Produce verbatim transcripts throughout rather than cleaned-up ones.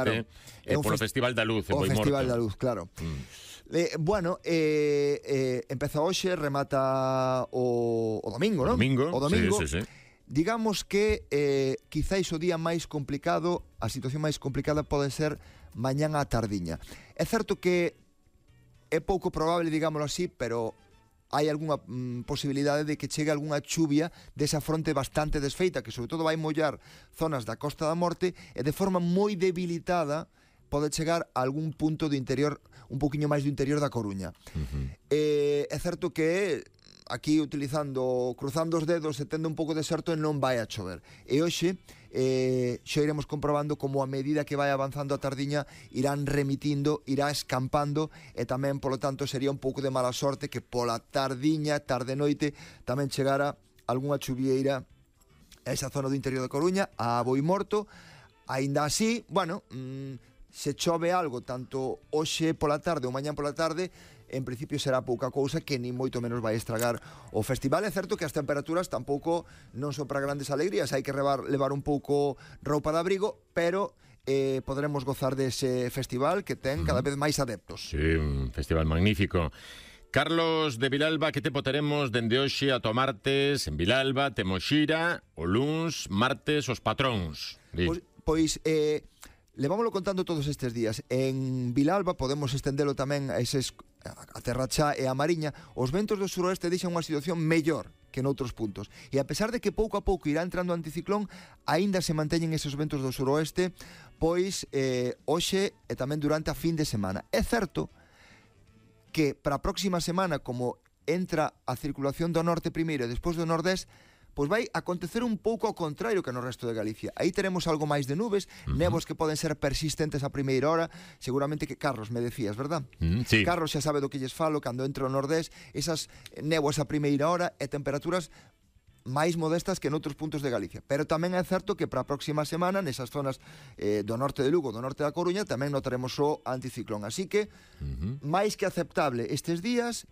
precisamente claro. eh, polo fest... Festival da Luz, o Festival da Luz, claro. Mm. Eh, bueno, eh, eh, empeza hoxe, remata o, o domingo, non? O domingo, o domingo. Sí, sí, sí. Digamos que eh, quizáis o día máis complicado, a situación máis complicada pode ser mañán á tardiña. É certo que é pouco probable, digámoslo así, pero hai algunha mm, posibilidade de que chegue algunha chuvia desa fronte bastante desfeita, que sobre todo vai mollar zonas da Costa da Morte e de forma moi debilitada pode chegar a algún punto do interior, un poquinho máis do interior da Coruña. Uh-huh. eh, é certo que aquí utilizando, cruzando os dedos e tendo un pouco de certo non vai a chover. E hoxe eh, xa iremos comprobando como a medida que vai avanzando a tardiña irán remitindo, irá escampando e tamén, polo tanto, sería un pouco de mala sorte que pola tardiña, tarde-noite, tamén chegara algunha chuvieira a esa zona do interior da Coruña, a Boimorto. Aínda así, bueno, mmm, se chove algo tanto hoxe pola tarde ou mañán pola tarde, en principio será pouca cousa que ni moito menos vai estragar o festival. É certo que as temperaturas tampouco non son para grandes alegrías, hai que levar, levar un pouco roupa de abrigo, pero eh, podremos gozar dese festival que ten cada vez máis adeptos. Sí, un festival magnífico. Carlos de Vilalba, que tempo teremos dende hoxe ata o martes en Vilalba? Temos xira, o luns, martes, os patróns. Pois, pois eh, levámoslo contando todos estes días. En Vilalba podemos estendelo tamén a eses, a Terrachá e a Mariña. Os ventos do suroeste deixan unha situación mellor que noutros puntos. E a pesar de que pouco a pouco irá entrando o anticiclón, aínda se manteñen esos ventos do suroeste, pois eh, hoxe e tamén durante a fin de semana. É certo que para a próxima semana, como entra a circulación do norte primeiro e despois do nordés, pois vai acontecer un pouco ao contrario que no resto de Galicia. Aí teremos algo máis de nubes, uh-huh. Nebos que poden ser persistentes a primeira hora. Seguramente que Carlos me decías, verdad? Uh-huh, sí. Carlos xa sabe do que lles falo, cando entra o nordés, esas néboas a primeira hora e temperaturas máis modestas que noutros puntos de Galicia. Pero tamén é certo que para a próxima semana, nesas zonas eh, do norte de Lugo, do norte da Coruña, tamén notaremos o anticiclón. Así que, uh-huh. máis que aceptable estes días,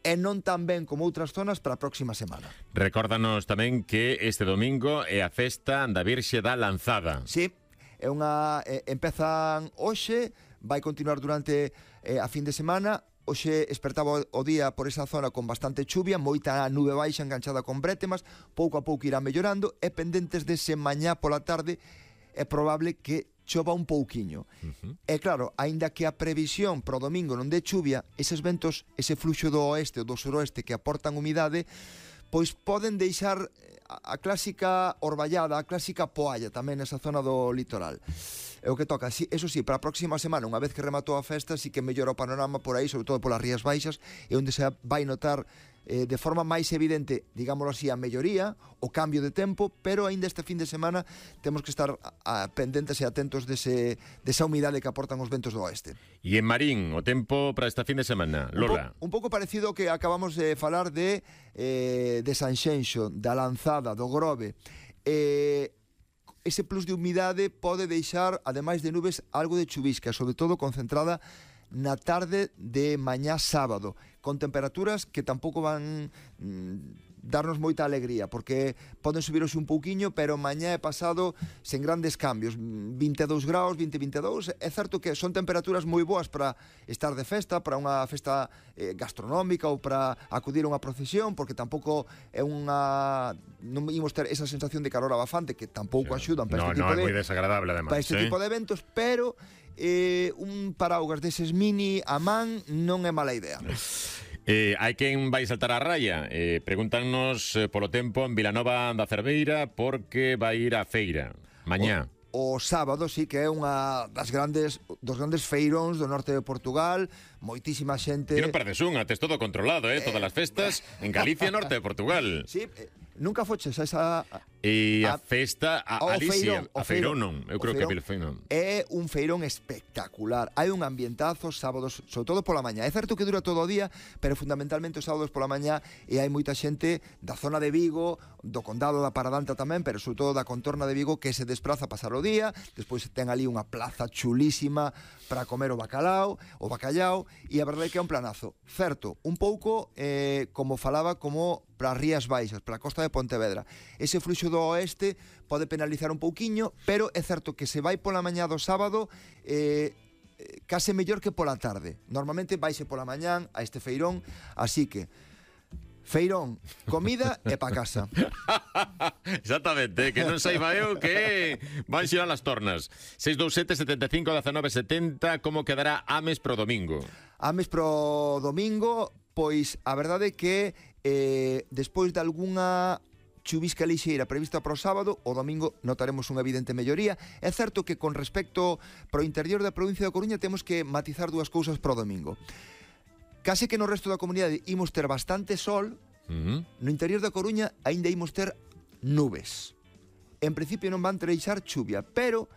e non tan ben como outras zonas para a próxima semana. Recórdanos tamén que este domingo é a festa da Virxe da Lanzada. Sí, é unha eh, empezan hoxe, vai continuar durante eh, a fin de semana. Hoxe espertaba o día por esa zona con bastante chuvia, moita nube baixa enganchada con brétemas, pouco a pouco irá mellorando, e pendentes dese mañá pola tarde é probable que chova un pouquiño. Uh-huh. E claro, aínda que a previsión pro domingo non dé chuvia, eses ventos, ese fluxo do oeste ou do suroeste que aportan humidade, pois poden deixar a, a clásica orballada, a clásica poalla tamén nesa zona do litoral. É o que toca. Sí, eso sí, para a próxima semana, unha vez que rematou a festa, sí que mellora o panorama por aí, sobre todo polas Rías Baixas, e onde se vai notar eh, de forma máis evidente, digámoslo así, a melloría, o cambio de tempo, pero aínda este fin de semana temos que estar a, a, pendentes e atentos dese, desa humidade que aportan os ventos do oeste. E en Marín, o tempo para esta fin de semana, Lola? Un, po, un pouco parecido ao que acabamos de falar de, eh, de Sanxenxo, da Lanzada, do Grove. Eh, ese plus de humidade pode deixar, ademais de nubes, algo de chuvisca, sobre todo concentrada na tarde de mañá sábado, con temperaturas que tampouco van mm, darnos moita alegría, porque poden subirose un pouquiño, pero mañá e pasado sen grandes cambios, vinte e dous graus, vinte, vinte e dous. É certo que son temperaturas moi boas para estar de festa, para unha festa eh, gastronómica ou para acudir a unha procesión, porque tampouco é unha, non imos ter esa sensación de calor abafante que tampouco sí. axudan para no, este tipo no, de é moi desagradable además, para este ¿sí? tipo de eventos, pero eh, un paraugas deses mini a man non é mala idea. Eh, hai quen vai saltar a raya. Eh, pregúntanos eh, polo tempo en Vilanova da Cerveira porque vai ir á feira mañá. O, o sábado sí que é unha das grandes dos grandes feiróns do norte de Portugal, moitísima xente. E non perdes unha, tes todo controlado, eh, eh todas as festas en Galicia, norte de Portugal. Sí, eh, nunca foches a esa E a, a festa a, a Alicia, feirón, a feirón non, eu creo que é feirón. É un feirón espectacular. Hai un ambientazo sábados, sobre todo pola mañá. É certo que dura todo o día, pero fundamentalmente os sábados pola mañá, e hai moita xente da zona de Vigo, do condado da Paradanta tamén, pero sobre todo da contorna de Vigo, que se despraza a pasar o día. Despois ten ali unha plaza chulísima para comer o bacalao, o bacallao, e a verdade é que é un planazo. Certo, un pouco eh, como falaba, como para as Rías Baixas, para a costa de Pontevedra. Ese fluxo do do oeste pode penalizar un pouquiño, pero é certo que se vai pola mañá do sábado eh, case mellor que pola tarde. Normalmente vaise pola mañán a este feirón, así que feirón, comida e pa casa. Exactamente, que non saiba eu que van xirar as tornas. seis dous sete, setenta e cinco, dezenove, setenta. Como quedará Ames pro domingo? Ames pro domingo, pois a verdade é que eh, despois de algunha chuvisca lixeira prevista para o sábado, o domingo notaremos unha evidente melloría. É certo que con respecto pro interior da provincia da Coruña temos que matizar dúas cousas pro domingo. Case que no resto da comunidade imos ter bastante sol, uh-huh. No interior da Coruña aínda imos ter nubes. En principio non van treixar chuvia, pero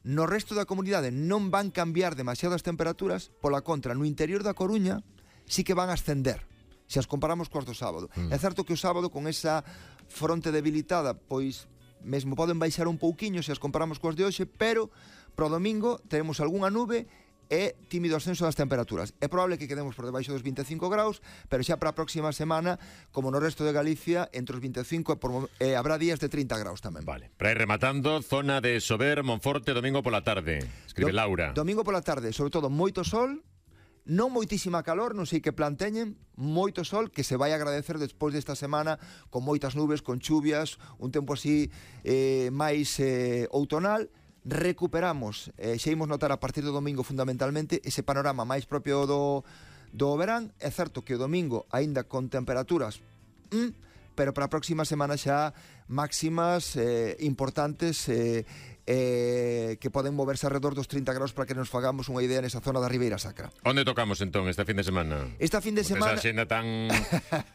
no resto da comunidade non van cambiar demasiado as temperaturas, pola contra, no interior da Coruña sí que van ascender, se as comparamos coas do sábado. Uh-huh. É certo que o sábado con esa fronte debilitada, pois mesmo poden baixar un pouquiño se as comparamos coas de hoxe, pero pro domingo teremos algunha nube e tímido ascenso das temperaturas. É probable que quedemos por debaixo dos vinte e cinco graus, pero xa para a próxima semana, como no resto de Galicia, entre os vinte e cinco e, por, e habrá días de trinta graus tamén. Vale. Para ir rematando, zona de Sober, Monforte, domingo pola tarde. Escribe Do, Laura. Domingo pola tarde, sobre todo moito sol, non moitísima calor, non sei que plan teñen, moito sol, que se vai agradecer despois desta semana, con moitas nubes, con chuvias, un tempo así eh, máis eh, outonal. Recuperamos, eh, xa imos notar a partir do domingo fundamentalmente ese panorama máis propio do, do verán. É certo que o domingo aínda con temperaturas mm, pero para a próxima semana xa máximas eh, importantes eh, eh, que poden moverse alrededor dos trinta graus para que nos fagamos unha idea nesa zona da Ribeira Sacra. Onde tocamos entón esta fin de semana? Esta fin de semana... Esa xenda tan,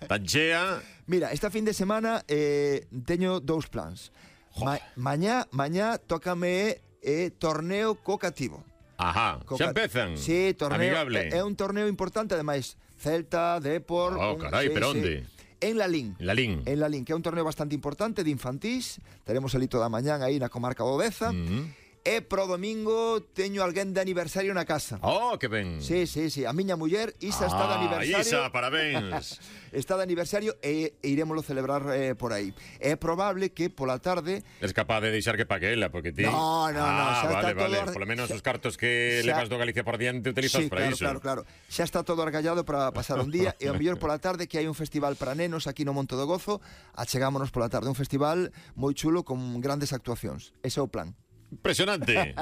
tan chea... Mira, esta fin de semana eh, teño dous plans. Ma, mañá, mañá tócame eh, torneo co-cativo. Ajá, Coca... xa empezan. Sí, torneo, amigable. É, é un torneo importante, ademais, Celta, Depor... Oh, carai, sí, pero sí. onde? En Lalín. En Lalín. En Lalín, que é un torneo bastante importante de infantís. Teremos ali toda a mañán aí na comarca do Deza. Mm-hmm. E pro domingo teño alguén de aniversario na casa. Oh, que ben. Sí, sí, sí. A miña muller, Isa, ah, está de aniversario. Isa, parabéns. Está de aniversario e, e irémoslo celebrar eh, por aí. É probable que pola tarde... Es capaz de deixar que pague ela, porque ti... No, no, no. Ah, xa vale, está vale. todo... Por lo menos xa... os cartos que xa... levas do Galicia por diante utilizas sí, para claro, iso. claro, claro. Xa está todo argallado para pasar un día e ao mellor pola tarde que hai un festival para nenos aquí no Monte do Gozo, achegámonos pola tarde. Un festival moi chulo con grandes actuacións. Ese é o plan. Impresionante.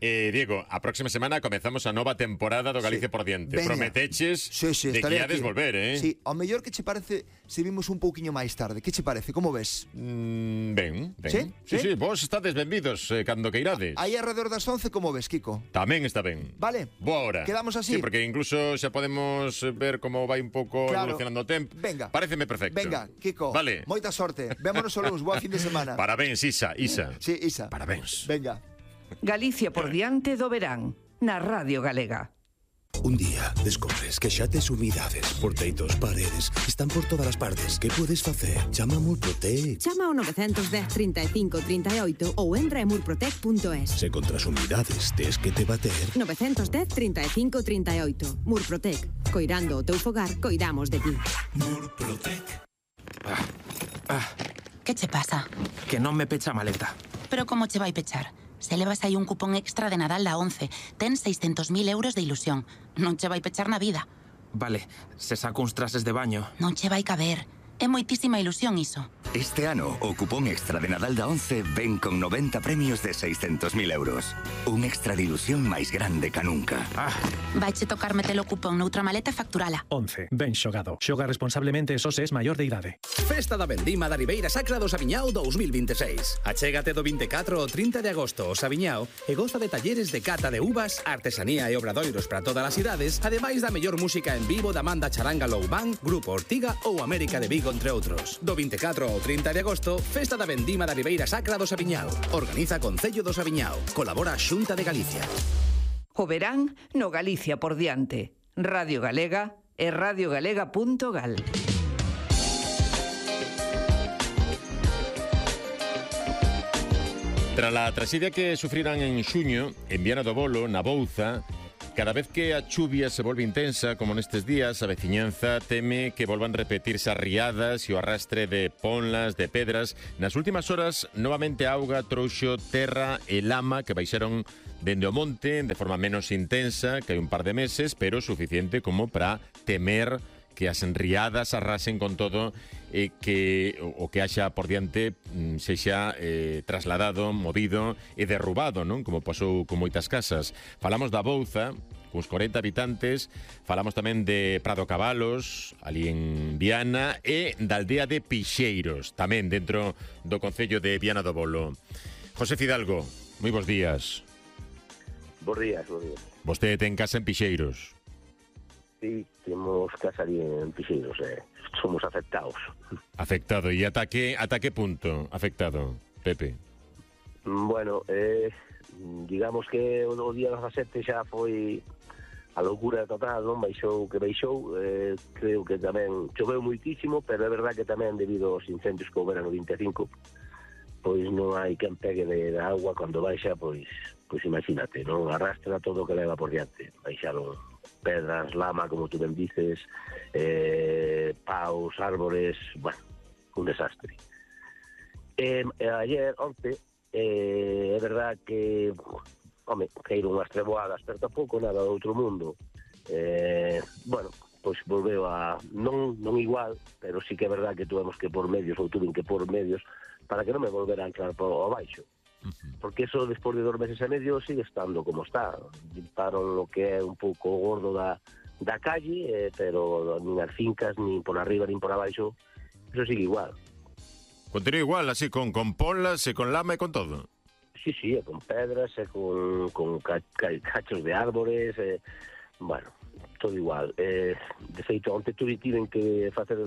Eh, Diego, a próxima semana comezamos a nova temporada do Galicia sí. por diante. Veña. Prometeches sí, sí, de que iades volver, eh? Sí, ao mellor que che parece se vimos un pouquiño máis tarde. Que che parece? Como ves? Mm, ben, ben. Sí? Sí, sí, sí, vos estades benvidos eh, cando que irades. Aí alrededor das once, como ves, Kiko? Tamén está ben. Vale. Boa hora. Quedamos así. Sí, porque incluso xa podemos ver como vai un pouco claro. evolucionando o tempo. Venga. Pareceme perfecto. Venga, Kiko. Vale. Moita sorte. Vémonos o luns. Boa fin de semana. Parabéns, Isa. Isa. Sí, Isa. Parabéns. Venga. Galicia por diante do verán, na Radio Galega. Un día descobres que xa tes humidades por teitos, paredes, están por todas as partes. Que podes facer? Chama a Murprotec. Chama ao nove un cero, trinta e cinco, trinta e oito ou entra en murprotec punto es. Se contra as humidades tes que te bater. nove un cero, trinta e cinco, trinta e oito. Murprotec. Coirando o teu fogar, coidamos de ti. Murprotec. Ah, ah. Que che pasa? Que non me pecha a maleta. Pero como che vai pechar? Se levas aí un cupón extra de Nadal da once, ten seiscentos mil euros de ilusión. Non che vai pechar na vida. Vale, se saco uns trases de baño. Non che vai caber. É moitísima ilusión iso. Este ano, o cupón extra de Nadal da once ven con noventa premios de seiscentos mil euros. Un extra de ilusión máis grande ca nunca. Ah. Vaiche tocar metelo cupón noutra maleta e facturala. once. Ben xogado. Xoga responsablemente só se es maior de idade. Festa da Vendima da Ribeira Sacra do Sabiñao dous mil vinte e seis. Achégate do vinte e catro ao trinta de agosto ao Sabiñao e goza de talleres de cata de uvas, artesanía e obradoiros para todas as idades, ademais da mellor música en vivo da Manda Charanga Low Band, Grupo Ortiga ou América de Vigo, entre outros. Do vinte e catro ao trinta de agosto, Festa da Vendima da Ribeira Sacra do Sabiñao. Organiza Concello do Sabiñao. Colabora Xunta de Galicia. O verán no Galicia por diante. Radio Galega e radiogalega punto gal. Tras a traxedia que sufriran en xuño, en Viana do Bolo, na Bouza, Cada vez que a chuvia se volve intensa, como nestes días, a veciñanza teme que volvan repetirse as riadas e o arrastre de ponlas, de pedras. Nas últimas horas, novamente a auga trouxo terra e lama que baixaron dende o monte de forma menos intensa que hai un par de meses, pero suficiente como para temer que as enriadas arrasen con todo e que o que haxa por diante sexa eh, trasladado, movido e derrubado, non? Como pasou con moitas casas. Falamos da Bouza, cuns corenta habitantes, falamos tamén de Prado Cabalos, ali en Viana, e da aldea de Pixeiros, tamén dentro do concello de Viana do Bolo. José Fidalgo, moi bons días. Bos días, bos días. Vostede ten casa en Pixeiros. Sí, temos casa ali en Pixeiros, eh. Somos afectados. Afectado, e ata que, ata que punto afectado, Pepe? Bueno, eh, digamos que o día dezasete xa foi a loucura total, non? Baixou que baixou, eh, creo que tamén choveu moitísimo, pero é verdad que tamén debido aos incendios que houberan no vinte e cinco, pois non hai quen pegue de, de agua cando baixa, pois, pois imagínate, non? Arrastra todo o que leva por diante. Baixaron pedras, lama, como tú ben dices, eh, paus, árbores, bueno, un desastre. Eh, ayer, onte, eh, é verdad que, home, caíron unhas treboadas, pero tampouco nada do outro mundo. Eh, bueno, pois volveu a, non, non igual, pero sí que é verdad que tuvemos que por medios, ou tuven que por medios, para que non me volvera a entrar por abaixo. Porque eso, despois de dos meses e medio, sigue estando como está. Limparon lo que é un pouco gordo da, da calle, eh, pero nin as fincas, nin por arriba, nin por abaixo, eso sigue igual. Continúa igual, así, con, con polas e con lama e con todo? Sí, sí, e con pedras, e con, con ca, ca, cachos de árbores, e, bueno, todo igual. Eh, de feito, onte tuve tiven que facer...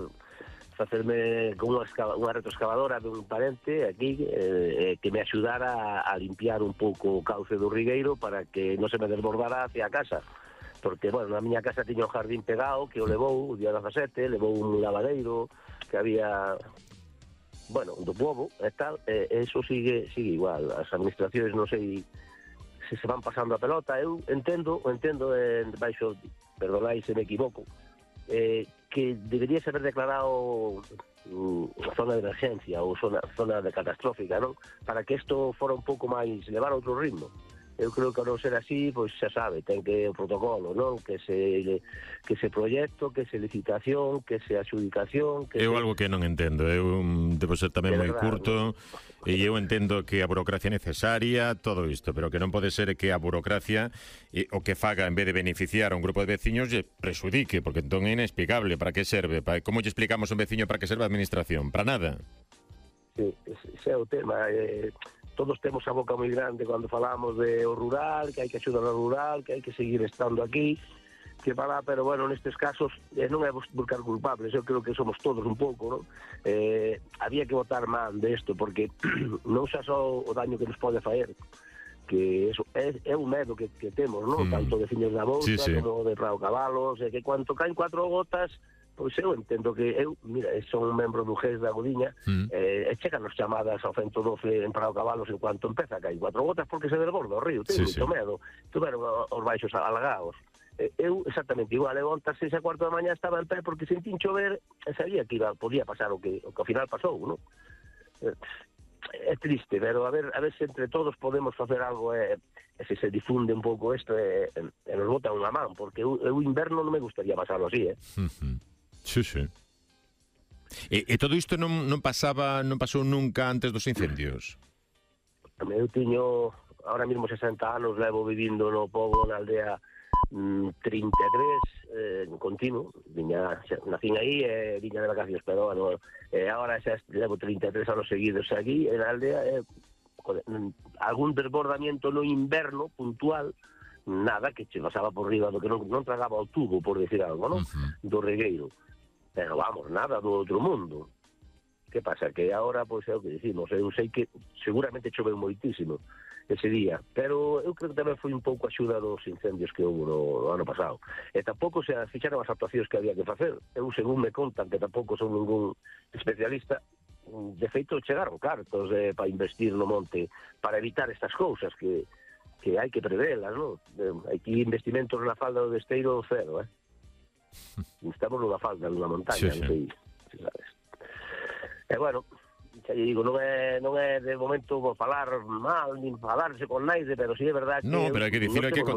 facerme con unha, unha retroexcavadora de un parente aquí eh, que me axudara a, a limpiar un pouco o cauce do Rigueiro para que non se me desbordara hacia a casa, porque, bueno, na miña casa tiña un jardín pegado que o levou o día dezasete, levou un lavadeiro que había, bueno, do povo e tal, e eso sigue sigue igual. As administracións non sei se se van pasando a pelota. Eu entendo, entendo en baixo, perdonai se me equivoco, eh, que deberíase haber declarado uh, zona de emergencia ou zona, zona de catastrófica, non? Para que isto fora un pouco máis, levar a outro ritmo. Eu creo que ao non ser así, pois xa sabe, ten que o protocolo, non? Que se que se proxecto, que se licitación, que se adjudicación, que Eu se... algo que non entendo, eu debo ser tamén moi curto, e eu entendo que a burocracia é necesaria, todo isto, pero que non pode ser que a burocracia e, o que faga, en vez de beneficiar a un grupo de veciños, lle presudique, porque entón é inexplicable. Para que serve? Para, como lle explicamos a un veciño para que serve a administración? Para nada. Sí, ese é o tema. Eh, todos temos a boca moi grande cando falamos de o rural, que hai que axudar ao rural, que hai que seguir estando aquí, que para, pero bueno, nestes casos eh, non é buscar culpables, eu creo que somos todos un pouco, non? Eh, había que botar man de isto, porque non xa só o daño que nos pode faer, que eso é, é un medo que, que temos, non? Mm. Tanto de Fiños da Bouza, sí, sí, como de Prado Cabalos, e que cuando caen cuatro gotas, pois eu entendo que eu, mira, son un membro do G E S da Godiña, mm. eh, e checan as chamadas ao ciento doce en Prado Cabalos en cuanto empeza a caer cuatro gotas porque se desborda o río, ten sí, moito sí. medo. Tuveron os baixos alagados. Eh, eu exactamente igual, eu ontas seis a cuarto da mañá estaba en pé porque sentín chover e sabía que iba, podía pasar o que, o que ao final pasou, non? Eh, é triste, pero a ver, a ver se entre todos podemos facer algo e, e se se difunde un pouco isto e, e nos botan unha man, porque eu, eu inverno non me gustaría pasarlo así, eh? Uh-huh. Sí, sí. E, e todo isto non, non pasaba, non pasou nunca antes dos incendios? Eu tiño, ahora mesmo sesenta anos, levo vivindo no pobo, na aldea mmm, trinta e tres, eh, continuo, viña, nacín aí e eh, viña de vacacións, pero bueno, eh, ahora xa levo trinta e tres anos seguidos aquí, en a aldea, eh, joder, algún desbordamiento no inverno puntual, nada, que che pasaba por riba do que non, non tragaba o tubo, por decir algo, non? Uh-huh. Do regueiro. Pero vamos, nada do outro mundo. Que pasa? Que agora, pois, é o que dicimos, eu sei que seguramente choveu moitísimo ese día, pero eu creo que tamén foi un pouco axuda dos incendios que houve no, no ano pasado. E tampouco se fixaron as actuacións que había que facer. Eu, según me contan, que tampouco son ningún especialista, de feito chegaron cartos eh, para investir no monte, para evitar estas cousas que que hai que prevelas, non? Hai que investimentos na falda do Esteiro cero, eh? Estamos nunha falda, nunha montaña, sí, non sei, sí. Sabes. E bueno, xa lle digo, non é, non é de momento falar mal, nin falarse con naide, pero sí é verdade que... No, pero hai que dicir, hai que